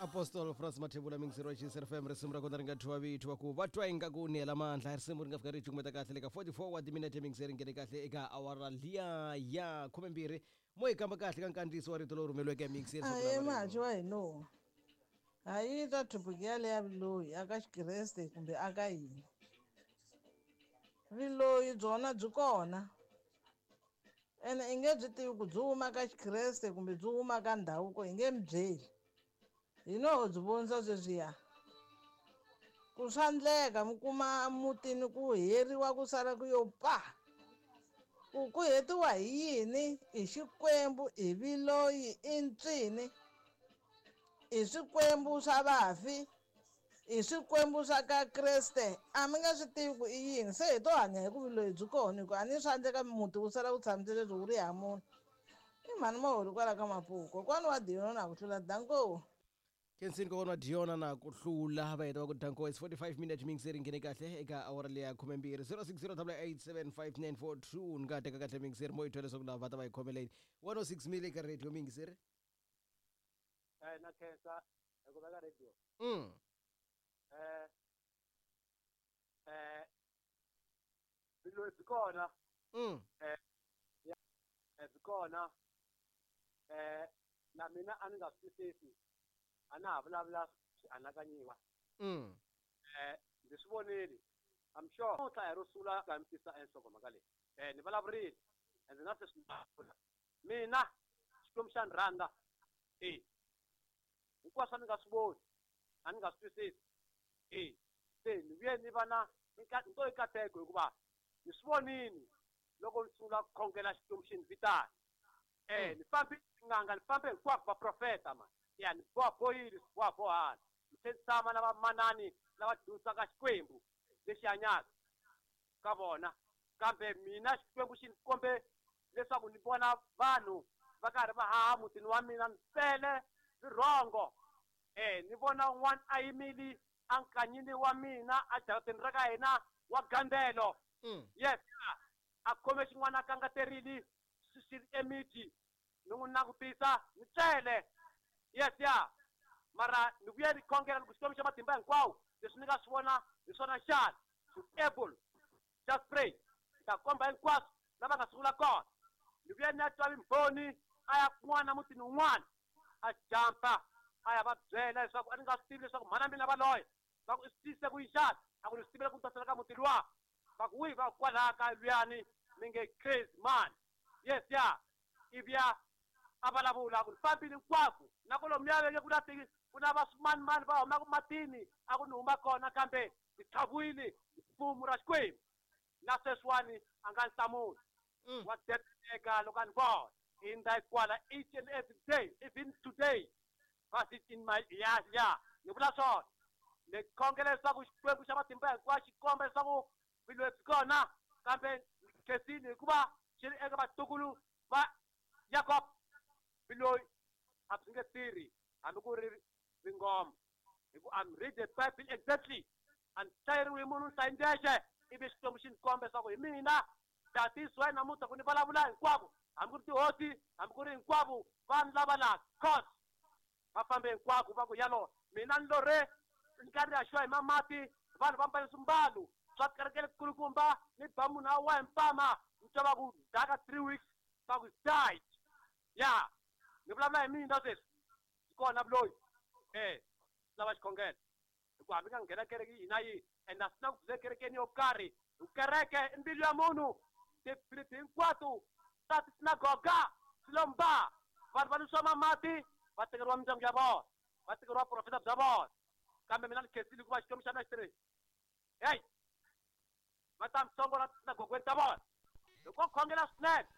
Apostol France Mathebula mingiseri wa Xinser FM, risimu ra kona ri nga thyiwa vito va ku va twa ingaku ni hela mandla. Risimu ri nga fika ri cukumeta kahle le ka 44 wa timinete, mingiseri nghene kahle eka awara liya ya 12. Mo yi kamba kahle ka nkandziyiso wa rito lowu rhumeriweke mingiseri. Ahe, mahachi wa hino ha yi twa thopiki yaleyo ya vuloyi aka xikreste kumbe aka yini. Vuloyi byona byi kona, ene i nge byi tivi ku byi huma ka xikreste kumbe byi huma ka ndhavuko, hi nge mi byeli. Hi no byi vonisa sweswiya ku swa ndleka mi kuma mutini ku heriwa, ku sala ku yo pa, ku hetiwa hi yini? I xikwembu, i viloyi, i ntswini, i swikwembu swa vafi, i swikwembu swa ka kreste, a mi nga swi tivi ku i yini. Se hi to hanya hi ku vuloyi byi kona, hi ku a ni swa endleka muti wu sala wu tshamisile leswi wu ri ha munhu. I mhani maholi kwala ka Mapuku, kokwani wa Diona na ku hlula. Danko. Kensini kokwana wa Diona na ku hlula, va heta va ku danko. It's 45 minutes, mingiseri nghene kahle eka awara leya 12. 0608875942. Ni nga teka kahle mingiseri mo yi twa leswaku lava va ta va yi khomeleni 106 mil eka radio mingiseri. Na khensa hi ku veka radio. Vuloyi byi kona. Byi kona. Na mina a ni nga swi twisisi, a na ha vulavula swi anakanyiwa. Ndzi swi vonile, I'm sure namuntlha hi ro sungula ka mi tisa enhlokomhaka leyi. Ni vulavurile ende na sweswi ni mina Xikwembu xa ni rhandza. E hinkwaswo a ni nga swi voni, a ni nga swi twisisi. E se ni vuye ni va na nto i kateko, hikuva ni swi vonini loko ni sungula ku khongela Xikwembu xi ni vitana. Ni fambe tin'anga, ni fambe hinkwako, vaprofeta ma ya ni bohabohile swi bohabohana, ni tlhe ni tshama na vamanani lava dyondzisaka Xikwembu lexi hanyaka ka vona, kambe mina Xikwembu xi ni kombe leswaku ni vona vanhu va karhi va haha mutini wa mina, ni tele rirhongo. Ni vona un'wana a yimile ankanyini wa mina ajarateni ra ka hina wa gandelo. Yes, a khome xin'wana a kangaterile swi ri emiti, ni n'wi langutisa ni tlele. Yes ya, mara ni vuye ni khongela ni ku, Xikwembu xa matimba hinkwawo, leswi ni nga swi vona hi swona xana? To able just pray, ni ta komba hinkwaswo lava nga sungula kona. Ni vuye ni ya twa vimbhoni, a ya kun'wana mutini wun'wana, a jampa a ya va byela leswaku a ni nga swi tivi leswaku mhana mina va loya. Va ku, i swi tise ku yini xana? A ku, ni swi tivile ku ni ta sala ka muti luwa. Va ku, wihi? Va ku, kwalaya ka luyani mi nge crazy man. Yes ya, ivi ya a vulavula ku ni fambile hinkwako na kolomuya ve nge ku na ti ku na va swimanimani va humaka matini, a ku ni huma kona, kambe ni tlhaviwile hi fumu ra Xikwembu. Na sweswiwani a nga ni hlamuli. Wa dedeleka loko a ni vona hindza kwala each and every day, even today but it in my ya ni vula swona. Ni khongela leswaku Xikwembu xa matimba hinkwayo xi komba leswaku vuloyi byi kona, kambe khensini hikuva xi ri eka vatukulu va Yakob. Vuloyi a byi nge tirhi hambi ku ri vingoma, hi ku I'm read the Bible exactly, a ni hlayeriwi hi munhu, ni hlayi ndzexe, ivi Xikwembu xi ni komba leswaku hi mina tatisiwa namuntlha ku ni vulavula hinkwavo, hambi ku ri tihosi, hambi ku ri hinkwavo vanhu lava laha cause va fambe hinkwako va ku yalo mina ni lorhe ni karhi ni haxiwa hi mamati, vanhu va mbale swimbalo swa kereke lekulukumba, ni ba munhu a wa hi mpama, ni twa va ku daka 3 weeks, va ku died. Ya, ni vulavula hi mina sweswi, byi kona vuloyi. Lava xikhongelo, hikuva hambi nga nghena kereke yihi na yihi, and a swi na ku byi le kerekeni yo karhi, hi kereke i mbilu ya munhu. Tipiriti hinkwato ta tisinagoga swi lo mba, vanhu va nwisiwa mamati, va tekeriwa mindyangu ya vona, va tekeriwa profeta bya vona. Kambe mina ni khensile hikuva Xikwembu xa mina xi tirhi heyi, va ta mi hlongola tisinagogweni ta vona loko khongela swinene.